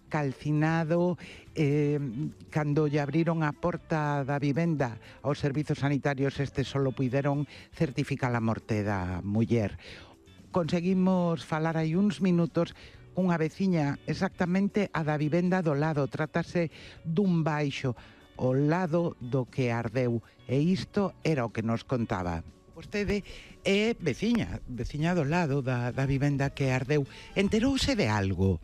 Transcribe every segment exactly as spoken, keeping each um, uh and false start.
calcinado eh, cando lle abriron a porta da vivenda aos servizos sanitarios, estes solo puideron certificar a morte da muller. Conseguimos falar hai uns minutos cunha veciña exactamente a da vivenda do lado. Trátase dun baixo ao lado do que ardeu, e isto era o que nos contaba. Vostede é veciña, veciña do lado da, da vivenda que ardeu. Enterouse de algo?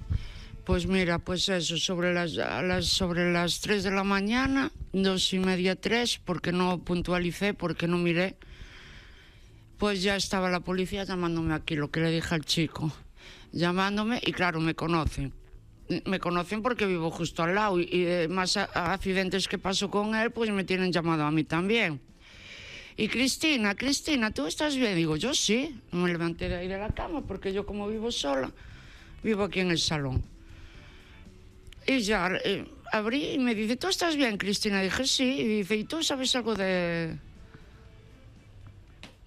Pues mira, pues eso, sobre las, las, sobre las tres de la mañana, dos y media, tres, porque no puntualicé, porque no miré, pues ya estaba la policía llamándome aquí, lo que le dije al chico, llamándome, y claro, me conocen. Me conocen porque vivo justo al lado, y, y más a, a accidentes que pasó con él, pues me tienen llamado a mí también. Y Cristina, Cristina, ¿tú estás bien? Digo, yo sí. Me levanté de ahí de la cama, porque yo como vivo sola, vivo aquí en el salón. Y ya eh, abrí y me dice, ¿tú estás bien, Cristina? Dije, sí. Y dice, ¿y tú sabes algo de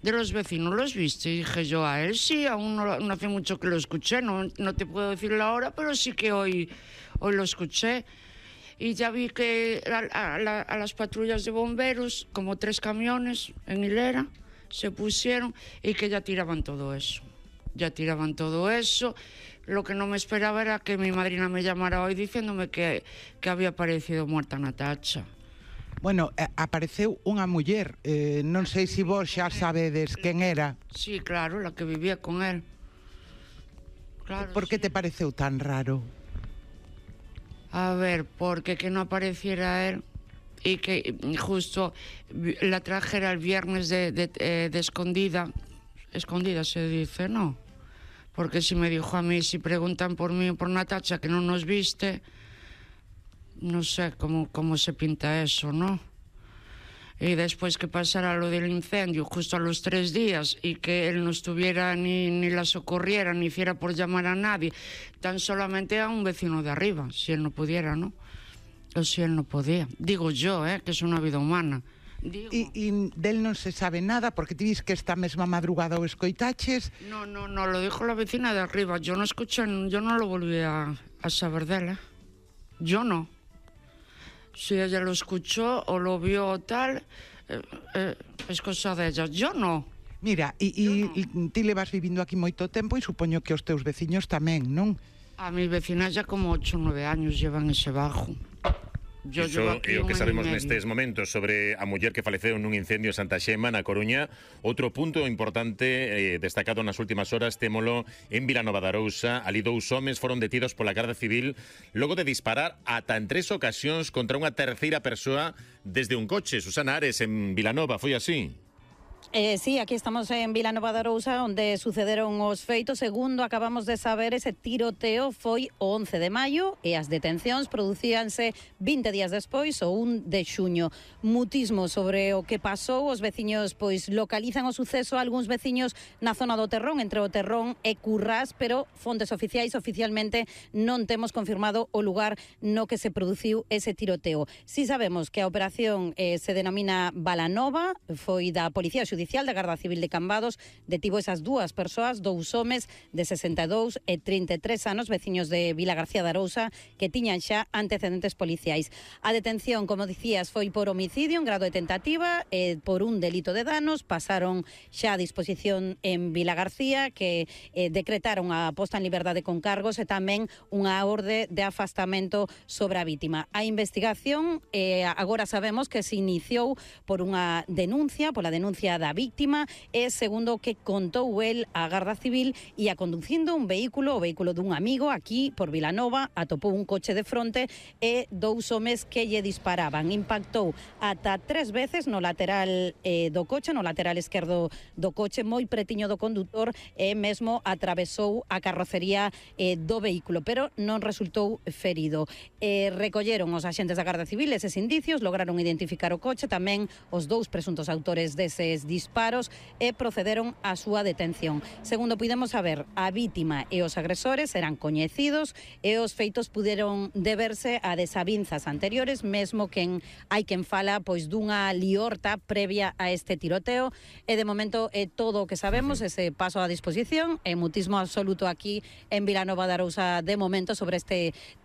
de los vecinos? ¿Los viste? Y dije yo, a él sí, aún no, no hace mucho que lo escuché. No, no te puedo decir la hora, pero sí que hoy, hoy lo escuché. Y ya vi que a, a, a, a las patrullas de bomberos, como tres camiones en hilera, se pusieron y que ya tiraban todo eso. Ya tiraban todo eso. Lo que no me esperaba era que mi madrina me llamara hoy diciéndome que, que había aparecido muerta Natacha. Bueno, apareceu unha muller, eh, non sei se vos xa sabedes quen era. Sí, claro, la que vivía con él. Claro, Por que sí. te pareceu tan raro? A ver, porque que no apareciera él y que justo la trajera el viernes de, de, de escondida. Escondida se dice, ¿no? Porque si me dijo a mí, si preguntan por mí o por Natacha que no nos viste, no sé cómo, cómo se pinta eso, ¿no? Y después que pasara lo del incendio, justo a los tres días, y que él no estuviera ni, ni la socorriera, ni hiciera por llamar a nadie, tan solamente a un vecino de arriba, si él no pudiera, ¿no? O si él no podía. Digo yo, ¿eh? Que es una vida humana. Digo. E, e del non se sabe nada, porque ti dis que esta mesma madrugada o escoitaches. No, no, no, lo dijo la vecina de arriba. Yo no escuché, yo no lo volví a, a saber de él, ¿eh? Yo no. Si ella lo escuchó o lo vio o tal, eh, eh, es cosa de ella. Yo no. Mira, e, e no. ti levas vivindo aquí moito tempo e supoño que os teus veciños tamén, non? A mis vecinas ya como ocho o nueve años llevan ese bajo. Yo Iso é o que sabemos nestes momentos sobre a muller que faleceu nun incendio en Santa Xema, na Coruña. Outro punto importante eh, destacado nas últimas horas, témolo en Vilanova de Arousa. Ali dous homes foron detidos pola Garda Civil logo de disparar ata en tres ocasións contra unha terceira persoa desde un coche. Susana Ares, en Vilanova, foi así? Eh, sí, aquí estamos en Vilanova de Arousa, onde sucederon os feitos. Segundo acabamos de saber, ese tiroteo foi o once de maio e as detencións producíanse vinte días despois, o un de xuño. Mutismo sobre o que pasou, os veciños pois localizan o suceso, algúns veciños na zona do Terrón, entre o Terrón e Currás, pero fontes oficiais oficialmente non temos confirmado o lugar no que se produciu ese tiroteo. Si sabemos que a operación eh, se denomina Balanova, foi da Policía Xudicial da Garda Civil de Cambados, detivo esas dúas persoas, dous homes de sesenta e dous e trinta e tres anos, veciños de Vila García de Arousa, que tiñan xa antecedentes policiais. A detención, como dicías, foi por homicidio en grado de tentativa e por un delito de danos. Pasaron xa a disposición en Vila García, que eh, decretaron a posta en liberdade con cargos e tamén unha orde de afastamento sobre a vítima. A investigación eh, agora sabemos que se iniciou por unha denuncia, pola denuncia da víctima, e segundo o que contou el a Garda Civil, ia conducindo un vehículo, o vehículo dun amigo aquí por Vilanova, atopou un coche de fronte e dous homes que lle disparaban. Impactou ata tres veces no lateral eh, do coche, no lateral esquerdo do coche, moi pretiño do condutor, e mesmo atravesou a carrocería eh, do vehículo, pero non resultou ferido. Eh, recolleron os agentes da Garda Civil eses indicios, lograron identificar o coche, tamén os dous presuntos autores deses tres disparos e procederon á súa detención. Segundo puidemos saber, a vítima e os agresores eran coñecidos e os feitos puderon deberse a desavinzas anteriores, mesmo quen hai quen fala pois dunha liorta previa a este tiroteo, e de momento é todo o que sabemos, ese paso a disposición, e mutismo absoluto aquí en Vilanova de Arousa de momento sobre este